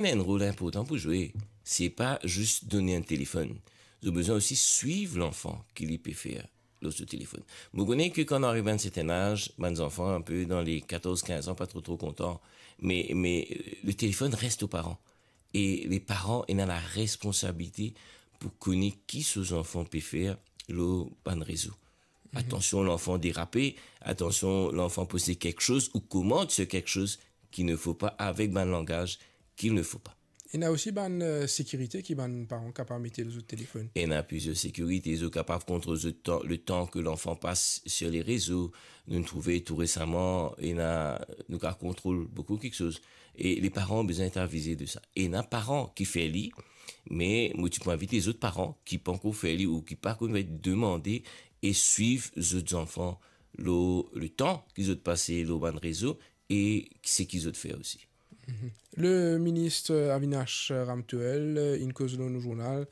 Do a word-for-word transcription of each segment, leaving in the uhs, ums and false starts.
Ena enn rol inportan pou zwe, se pa zis donn enn telefonn. Zot bizin osi swiv lanfan ki li pe fer lor so telefonn. Mo kone ki kan nou ariv a enn serten az, bann zanfan inpe dan le katorz kinz an, pa tro, tro kontan. Me, me, euh, le telefonn res o paran. E le paran ena la responsabilite pou kone ki so zanfan pe fer lor bann rezo. Atansion, lanfan derape, atansion, lanfan poste kiksoz ou komant sur kiksoz ki ne fo pa, avek bann langaz ki ne fo pa. Ena osi bann, euh, sekirite ki bann paran kapav mete lor zot telefonn. Ena plizier sekirite, zot kapav kontrol zot tan, le tan ke lanfan pas sur le rezo. Nou trouve tou resaman, ena, nou kapav kontrol boukou kiksoz. E le paran bizin et avize de sa. Ena paran ki fer li, me mo ti pou invit lezot paran ki pankor fer li ou ki pa konn, demande e swiv zot zanfan lor le tan ki zot pase lor bann rezo e seki zot fer osi. Le minis Avinash Ramtohel, euh, inn koz lor nou zournal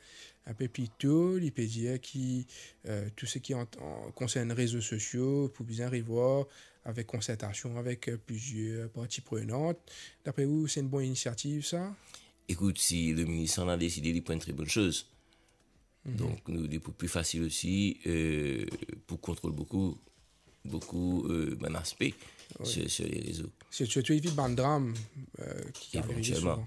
inpe pli to, li pe dir ki, euh, tou seki an, an, konsern rezo sosio pou bizin revwar avek konsertasion avek, euh, plizier parti prenant. Dapre ou, se enn bon inisiativ sa? Ekout, si le minis la deside, li pou enn tre bonn soz. Donk, nou, li pou pli fasil osi, euh, pou kontrol boukou, boukou, euh, bann aspe sur, sur le rezo. Se sirtou evit bann dram, euh, ki arive souvan.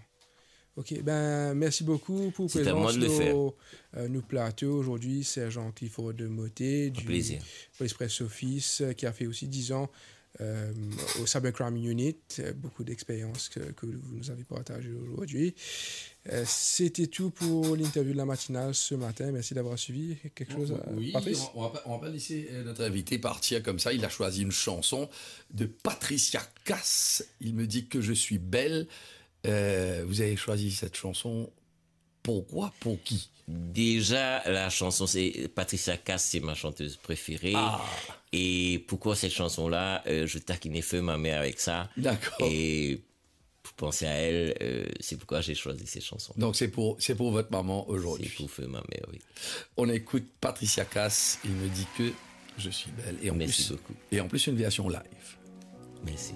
Ok, ben, mersi boukou pou prezans lor, euh, nou plato azordi, Serjan Clifford Motet, du Police Press Office, euh, ki a fer osi diz an, euh, au Cybercrime Unit. Euh, beaucoup d'expériences que, que vous nous avez partagées aujourd'hui. Euh, c'était tout pour l'interview de la matinale ce matin. Merci d'avoir suivi. Quelque chose, euh, Patrice? Oui, on, on va pas, on va pas laisser, euh, notre invité partir comme ça. Il a choisi une chanson de Patricia Cass. Il me dit que je suis belle. Euh, vous avez choisi cette chanson. Pourquoi? Pour qui? Déjà, la chanson, c'est Patricia Cass, c'est ma chanteuse préférée. Ah. Et pourquoi cette chanson-là? Euh, je taquinais feu ma mère avec ça. D'accord. Et pour penser à elle, euh, c'est pourquoi j'ai choisi cette chanson. Donc c'est pour, c'est pour votre maman aujourd'hui. C'est pour feu ma mère, oui. On écoute Patricia Cass, Il me dit que je suis belle. Et en plus, beaucoup. Et en plus, une version live. Merci.